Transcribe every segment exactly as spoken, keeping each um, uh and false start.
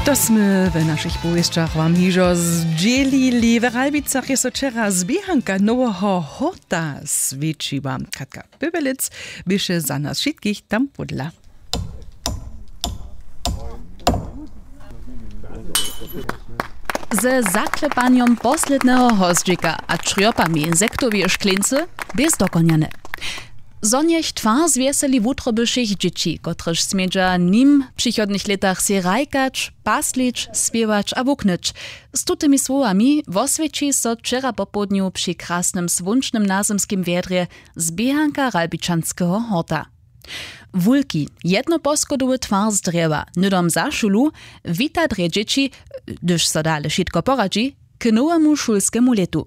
To smy w našich powěsćach wam hižo zdźělili. W Ralbicach je so wčera zběhanka noweho hórta swjećiła. Katka Pybelec běše za nas wšitkich tam pódla. Ze zaklepanjom posledneho hozdźika a črjopami insektoweje škleńcy bě zdokonjane. Zo njech twar zwjeseli wutroby wšěch dźěći, kotrež smědźa nim w přichodnych lětach sej hrajkać, paslić, spěwać a wuknyć. Z tutymi słowami woswjeći so wčera popołdnju při krasnym słónčnym nazymskim wjedrje zběhanka Ralbičanskeho horta. Wulki, jednoposchodowy twar z drjewa, hnydom za šulu, wita drje dźěći, hdyž so dale wšitko poradźi, k nowemu šulskemu lětu.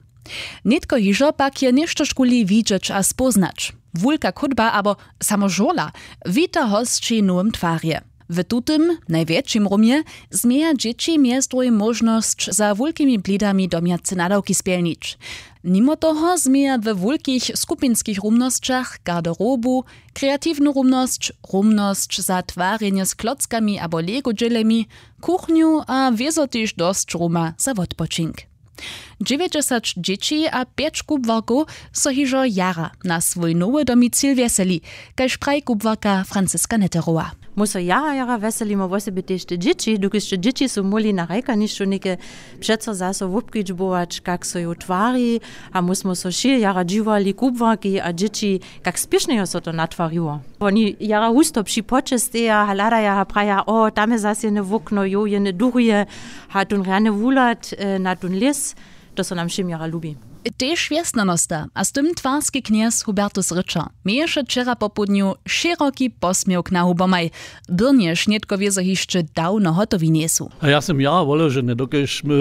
Nětko hižo pak je něštožkuli widźeć a spóznać. Wulka chódba abo samo žurla wita hosći w nowym twarje. W tutym, najwjetšim rumje, změja dźěći mjez druhim móžnosć, za wulkimi blidami domjace nadawki spjelnić. Nimo toho změja we wulkich skupinskich rumnosćach garderobu, kreatiwnu rumnosć, rumnosć za twarjenje z klockami abo lego dźělemi, kuchnju a wězo tež dosć ruma za wotpočink. Dźewjećdźesat dźěći a pjeć kubłarkow so hižo jara na swój nowy domicil wjeseli, kaž praji kubłarka Franciska Netterowa. My so jara jara wjeselimy, wosebje tež te dźěći, dokelž te dźěći su móhli na hrajkanišću něke přeco zaso wobkedźbować, kak so jo twari. A my smy so wšě jara dźiwali, kubłarki a dźěći, kak spěšnje jo so to natwariło. Woni jara husto při płoće steja, hladaja a praja: „O, tam je zas jene wokno, jo, jene durje, a tón rjany wuhlad, e, na tón lěs, to so nam wšěm jara lubi.“ Tež wjesnjanosta a z tym twarski knjez Hubertus Rytšer měješe wčera popołdnju šěroki posměwk na hubomaj, byrnjež nětko wězo hišće dawno hotowi njejsu. A ja sym jara woleženy, dokelž my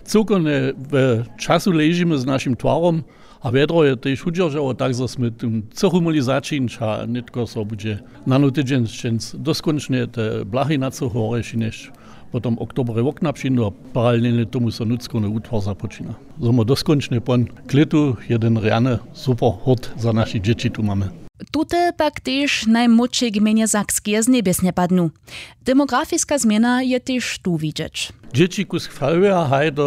cyłkownje w času ležimy z našim twarom, a wjedro je tež wudźeržało, tak zo smy tym cychu móhli začińć a nětko so budźe nano tydźeń sćenc doskónčnje te blachy na cychu horje šinjeć. Potom w oktobrje wokna přińdu a paralelnje tomu so nutřkowny wutwar započina. Zo my doskónčnje pon k lětu jedyn rjany super hurt za našich dźěći tu mamy. Tute pak tež najmłódšej gmejnje Sakskeje z njebjes njepadnu. Demografiska změna je tež tu widźeć. Dźěći kusk faluje a haj, to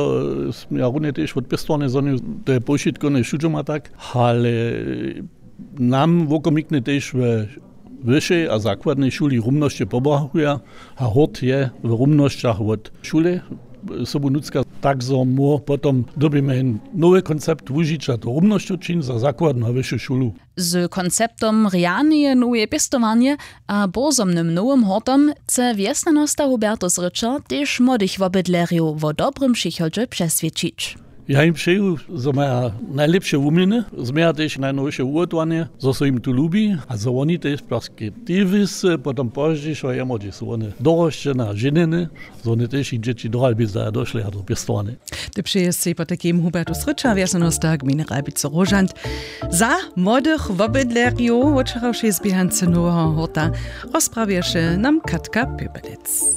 směja runje tež wot pěstowarnje, zo to je powšitkowne wšudźoma tak, ale nam wokomiknje tež we wyšej a zakładnej šuli rumnosće pobrachuja a hurt je w rumnosćach wot šule sobu nutřka. Tak zo móhł potom dyrbimy jen nowy koncept wužića to rumnosćow čiń za zakładnu a wyšu šulu. Z konceptom rjaneje noweje pěstowarnje a bórzomnym nowym hortom chce wjesnjanosta Hubertus Rytšer tež młodych wobydlerjow wo dobrym přichodźe přeswědčić. Ja jim přeju, zo maja najlěpše wuměny, změja tež najnowše wuhotowanje, zo so jim tu lubi a zo woni tež perspektiwisty potom pozdźišo jemo hdźež su wone dorosćene a ženjene, zo wone tež jich dźěći do Ralbic a došle a do pěstowarnje. Ty přeje sej potajkim Hubertus Rytšer, wjesnjanosta gmejny Ralbicy Róžant, za młodych wobydlerjow wot wčerawšej zběhance noweho hórta rozprawješe nam Katka Pěpelec.